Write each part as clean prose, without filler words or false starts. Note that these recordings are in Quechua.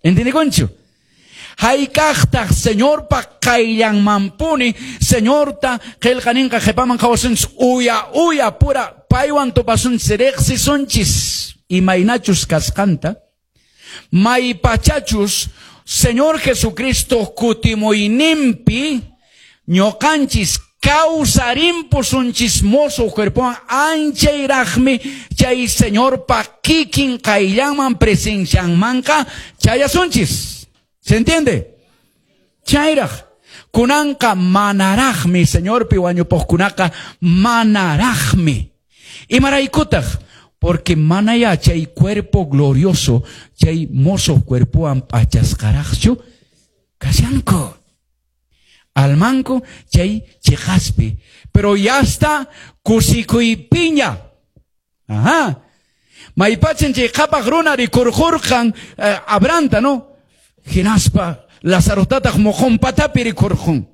Entendikunchu? Hayk'aqtaq Señorpa qayllanmanpuni Señorta qillqaninqa qhipaman qhawasunchis uya uya pura paywan tupasunchis riqsisunchis imaynachus kasqanta maypachachus Señor Jesucristo kutimuyninpi ñuqanchis kawsarimpusunchis mozo cuerpowan anchayraqmi chay Señorpa kikin qayllanman presencianmanqa chayasunchis. ¿Se entiende? Chayraq. Kunanqa manaraqmi Señorpi wañupuqkunaqa manaraqmi. Imaraykutaq? Porque manaya chay cuerpo glorioso, chay mozo cuerpowan p'achasqaraqchu kashanku. Almanku chay chiqaspi. Pero ya está kusikuypiña. Ajá. Maypachan chay qhapaq runa rikurqurqan Abrahamta, no? Hinaspa Lazarotataq moqon patapi rikurqun.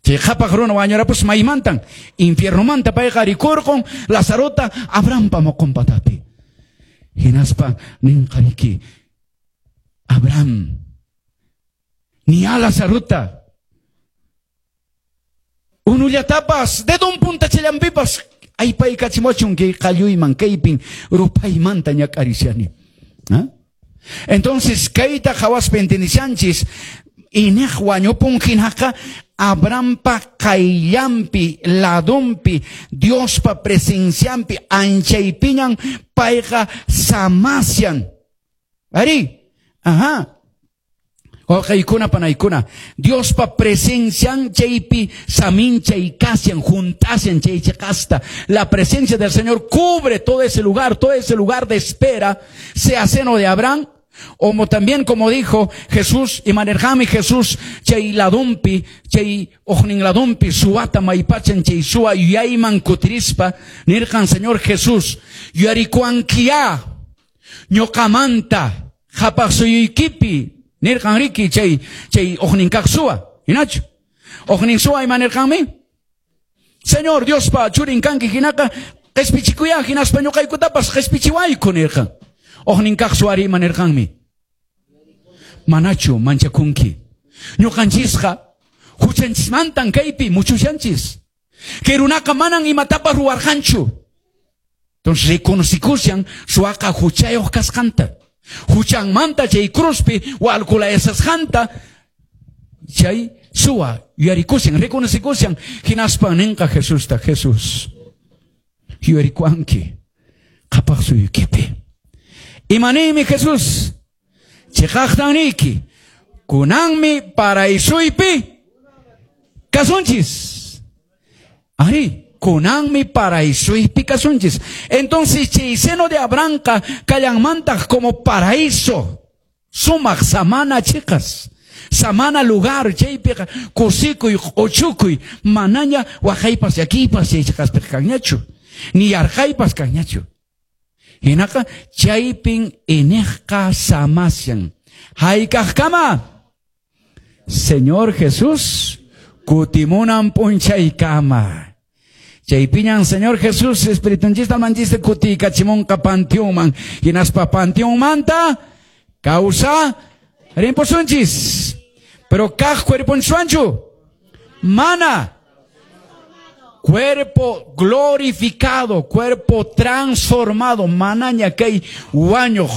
Chay qhapaq runa wañurapus maymantan infiernomanta payqa rikurqun Lazarota Abrahampa moqon patapi. Hinaspa ninqariki Abraham ni a Lazarota unullatapas dedon puntachallanpipas aypaykachimuchun kay qalluyman kaypin rupaymanta ñak'arishani. ¿Ah? Entonces kayta qhawaspa entendishanchis ineq wañupun hinaqa Abrahampa qayllanpi ladonpi Diospa presencianpi anchaypiñan payqa samasyan. Ari, ajá. Wawqaykuna panaykuna, Diospa presencian chaypi saminchay kasyan, juntasyan chay chiqasta. La presencia del Señor cubre todo ese lugar de espera, sea seno de Abraham, como también como dijo Jesús, y manerjami Jesús, chay ladumpi, chay ojnin ladumpi, suata maypachan chay suwa yayman kutirispa, nirqan Señor Jesús, yuyarikuankia, ñuqamanta, qhapaq suyuykipi, nirqan riki chay chay ojnin kaq suwa, hinachu? Ojnin suwa ima nirqanmi? Señor Diospa churin kanki hinaqa qhispichikuya hinaspa ñuqaykutapas qhispichiwayku nirqan. Ojnin kaq suwari ima nirqanmi? Manachu manchakunki. Ñuqanchisqa huchanchismantan kaypi muchushanchis. Kay runaqa manan imatapas ruwarqanchu. Entonces reconocikushan suwaqa huchayuq kasqanta. Huchanmanta chay cruzpi walkulayasqanta chay suwa yuyarikushan, reconocikushan hinaspa ninqa Jesusta, Jesús yuyarikuanki qhapaq suyuykipi. Imaniymi Jesús? Chiqaqtan niyki, kunanmi paraisuypi kasunchis. Ari, kunanmi paraisuypi kasunchis. Entonces chay seno de Abrahamqa kallanmantaq como paraíso, sumaq samana chiqas, samana lugar chaypiqa kusikuy q'uchukuy, manaña waqaypas llakiypas chay chiqaspiqa kanñachu, ni yarqaypas kanñachu. Hinaqa chaypin iniqqa samasyan. Hayk'aqkama? Señor Jesús kutimunan p'unchaykama. Chaypiñan Señor Jesús espiritunchista almanchista kutiykachimunqa panteonman. Hinaspa panteonmanta kawsa rimpusunchis. Pero kaq cuerponchiswanchu? Mana. Cuerpo glorificado, cuerpo transformado, manaña kay wañuq,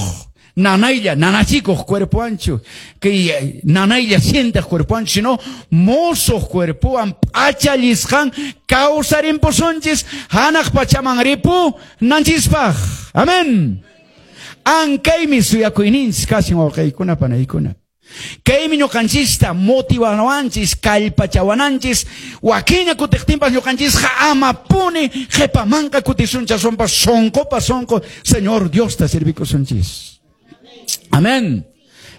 nanaylla, nanachikuq cuerpo anchu, kay nanaylla sientaq cuerpo anchu, sino mosoq cuerpowan p'achallisqan kawsarimpusunchis hanaq pachaman ripu nanchispaq. Amén. Ankaymi suyakuyninchis kashin wawqiykuna panaykuna. Kaymi ñuqanchista motivawanchis, kallpachawananchis, wakiña kutiqtinpas ñuqanchisqa amapuni qhipamanqa kutisunchis, aswanpas sonqopa sonqo Señor Diosta servikusunchis. Amén.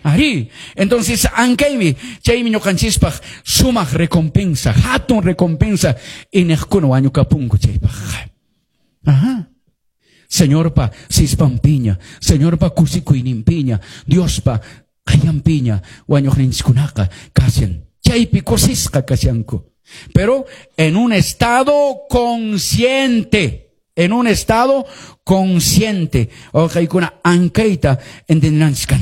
Ari, entonces ankaymi chaymi ñuqanchispaq sumaq recompensa, hatun recompensa iniqkuna wañukapunku chaypaq. Ajá. Señorpa sispampiña, Señorpa kusikuyninpiña, Diospa qayllanpiña wañuqninchiskunaqa kashan, chaypi kusisqa kashanku. Pero en un estado consciente, en un estado consciente. Wawqiykuna ankayta entendenanchis.